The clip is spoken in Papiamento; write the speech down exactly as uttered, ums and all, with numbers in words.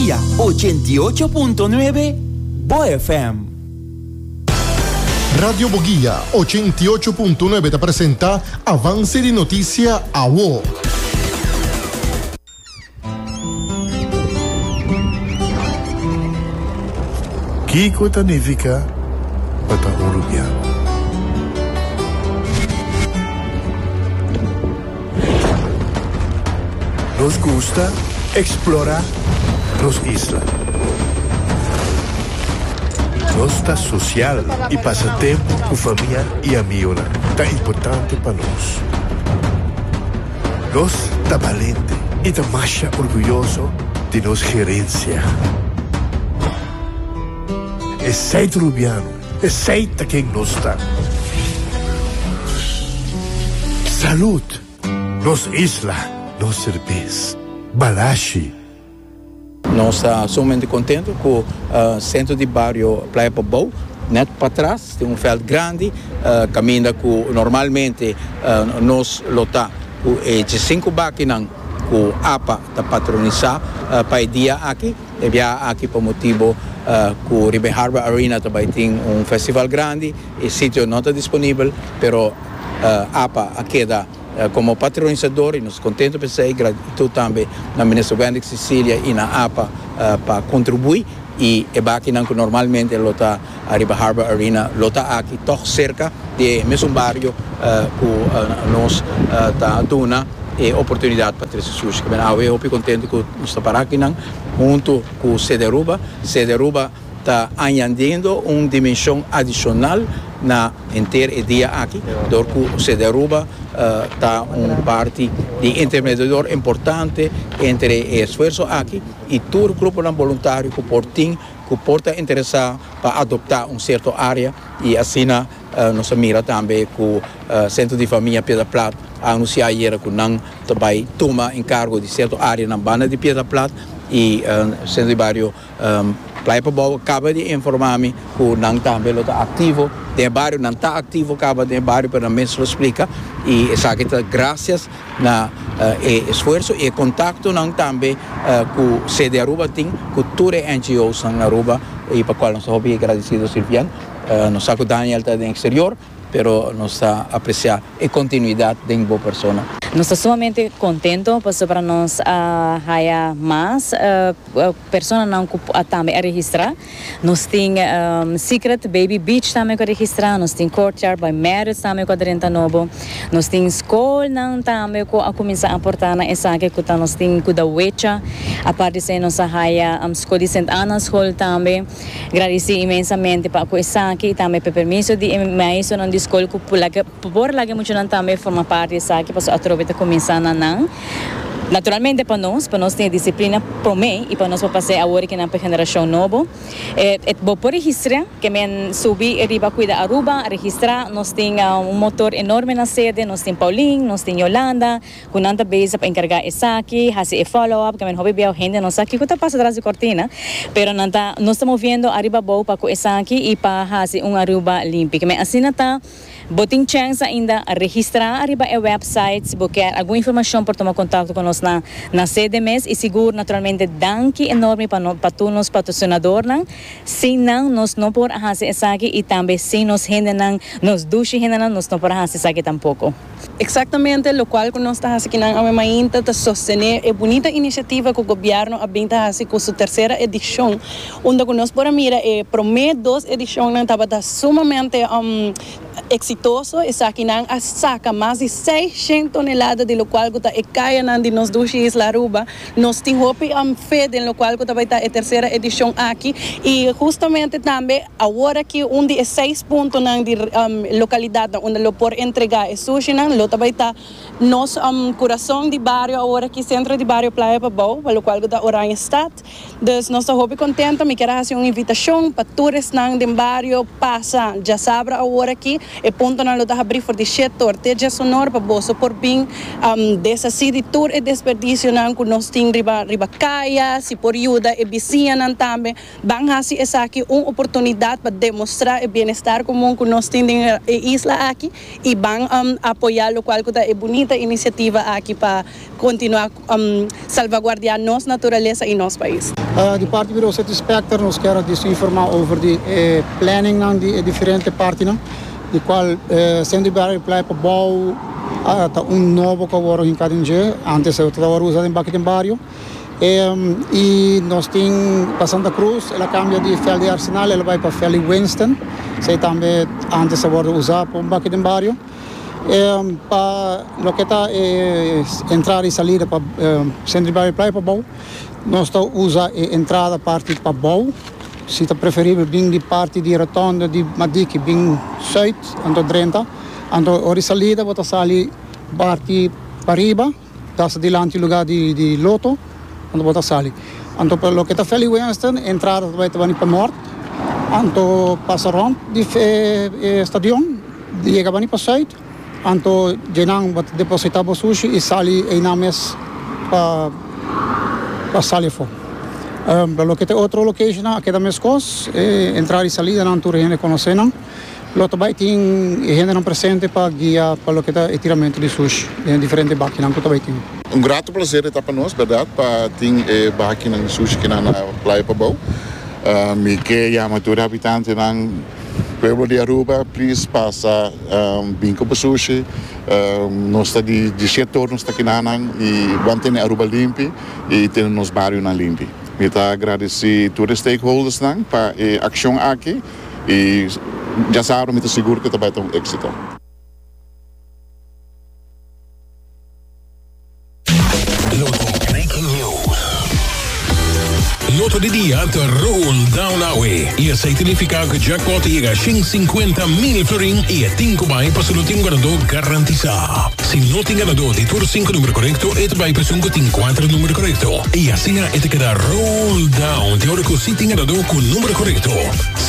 Boguia ochenta i ocho punto nuebe, Bo F M. Radio Boguia ochenta i ocho punto nuebe ta presenta Avance di Noticia Awo. Kiko ta nifica pa ta un Rubiano? Nos gusta explora nos isla. Nos ta social y pasa tempo cu famia y amigonan ta importante pa nos. Nos ta balente y ta masha orguyoso di nos gerencia. Esey ta Rubiano, esey ta ken nos ta. Salud, nos isla, nos cerbes, Balashi. Nos ta sumamente contento cu, uh, Centro di Bario Playa Pabou, net patras, tin un veld grandi, uh, caminda cu normalmente, uh, nos lo ta cu e cinco bakinan cu APA ta patronisa, uh, pa e dia aki, e bia aki pa motibo, uh, cu riba Harbor Arena tambe tin un festival grandi, e sitio no ta disponibel, pero, uh, APA a keda, uh, como patronisador y nos contento pa esey, gratitud tambe na Minister Wendy Cecilia y na APA, uh, pa contribui y e bakinan cu normalmente lo ta ariba Harbor Arena lo ta aki toch cerca di mesun bario, uh, cu, uh, nos, uh, ta duna e oportunidad pa trece sushi. Ben, awe hopi contento cu nos ta para akinan hunto cu Sede Aruba. Sede Aruba ta añadiendo un dimension adicional na henter e dia aki, door cu Sede Aruba, uh, ta un parti di intermediador importante entre e esfuerso aki y tur grupo voluntario cu por tin, cu por ta interesa pa adopta un cierto area y asina, uh, nos a mira tambe cu, uh, Centro di Famia Piedra Plat a anuncia ayera cu nan ta bay tuma encargo di cierto area na banda di Piedra Plat y, uh, Centro di Bario, um, Playa Pabou caba di informa mi cu nan tambe lo ta activo den bario, nan ta activo caba den bario, pero nan mes lo splica y esaki ta gracias na, uh, e esfuerso y contacto nan tambe, uh, cu Sede Aruba tin cu tur N G Os na Aruba y pa cual nos ta hopi agradecido, Silvian. Uh, nos sa cu Daniel ta den exterior, pero nos ta aprecia e continuidad den bo persona. Nos ta sumamente contento pasobra nos, uh, haya mas, uh, personanan cu tambe a registra. Nos tin, um, Secret Baby Beach tambe cu a registra, nos tin Courtyard by Marriott tambe cu a drenta nobo. Nos tin scolnan tambe cu a cuminsa aporta na esaki cu ta nos tin cu da wecha. Aparte esey nos a haya, um, scol di Saint Anna School tambe. Gradici inmensamente pa cu esaki tambe pa permiso di maestronan di scol cu por laga muchanan tambe forma parti di esaki paso atrobe ta cuminsa na nan. Naturalmente pa nos, pa nos tin disciplina prome y pa nos pasa awor cu na generacion nobo. Eh, eh, bo por registra, kiermen subi riba Cuida Aruba, registra, nos tin, uh, un motor enorme na sede, nos tin Pauline, nos tin Yolanda, cu nan ta bezig pa encarga esaki, haci e follow-up, kiermen hopi bia hende no sa kico ta pasa tras di cortina, pero nan ta, nos ta moviendo ariba abou pa cu esaki y pa haci un Aruba limpi. Kiermen asina ta, bo tin chance ainda registra ariba e website, si bo kier algun informacion por tuma contacto cu nos na, na sede mes y sigur naturalmente danki enorme pa no, pa tur nos patrocinadornan. Sin nan nos no por haci esaki y tambe sin nos hendenan, nos dushi hendenan, nos no por haci esaki tampoco. Exactamente, locual cu nos ta haciendo aki awe mainta ta sostene e bunita iniciativa cu gobierno a bin ta haci cu su tercera edicion, unda cu nos por a mira e prome dos edicionnan tabata sumamente, um, exitoso. Esakinan a saca mas di seisshen tonelada di locual cu ta e cayanan di nos dushi isla Aruba. Nos tin hopi, um, fe den locual cu ta e tercera edicion aki y justamente tambe awor aki un di seis puntonan di, um, localidad unda lo por entrega e sushinan lo tambe ta nos, um, curason di bario awor aki, Centro di Bario Playa Pabou, pa locual ta Oranjestad. Dus nos ta hopi contento, mi kier haci un invitacion pa tur esnan den bario pasa diasabra awor aki. E puntonan lo ta habri for di shete or te diesun or pa boso por bin um, deshasi di tur e desperdicionan ku nos tin riba riba kaya, si por yuda e bisiñanan tambe. Ban hasi esaki un oportunidat pa demostrá e bienestar komun ku nos tin den e isla aki i ban um, apoyá lokual ku ta e bunita inisiativa aki pa kontinuá um, salvaguardiá nos naturalesa i nos pais. Uh, di parti di City Inspector nos kier informá over di eh, planning nan di eh, diferente partinan, di kual eh, Centro di Bario Playa Pabou uh, ta un nobo ku awor den K D N G, antes tabata usa den baki den bario. Um, i nos tin pa Santa Cruz, el a kambia di veld di Arsenal, el a bai pa veld di Winston, esei tambe antes a usa pa un baki den bario. Um, pa loke ta eh, entrada i salida pa um, Centro di Bario Playa Pabou, nos ta usa e entrada parti pabou, si ta preferibel bin di parti di rotonde di Madiki, bin zuid, anto drenta, anto ora salida bo ta sali parti pariba, ta dilanti lugá di, di Lotto, anto bo ta sali. Anto pa loke ta veld di Winston, entrada bai ta pa nort, anto pasa rònt di eh, eh, stadion, yega pa zuid, anto einan bo ta depositá bo sushi i sali einan mes pa pa sali afó. Um, pa loke ta otro location a keda meskos, eh, entrada i salida nan tur hende konosé nan. Lo tambe tin hendenan presente pa guia pa loke ta tiramentu di sushi den diferente bakinan ku tambe tin. Un grato plaser ta pa nos, berdat, pa tin eh, bakinan sushi aki na Playa Pabou. Uh, mi ke yama tur habitantenan pueblo di Aruba, please pasa um, bin ku sushi. Um, nos ta di, di shete or nos ta aki nan i ban tene Aruba limpi i tene nos barionan limpi. Mi ta gradisí tur stakeholders nan pa e akshon aki i djasabra mi ta sigur ku tambe ta un éksito. Lotto Breaking News. Lotto di dia ta roll down awe. I esei ta nifiká ku jackpot yega shen sinkuenta mil florin i e tin ku bai pa no tin ganadó garantisá. Si no tin ganadó di tur sinku number korekto, e ta bai pa esun ku tin kuater number korekto. I asina e ta keda roll down te ora ku si tin ganadó ku number korekto.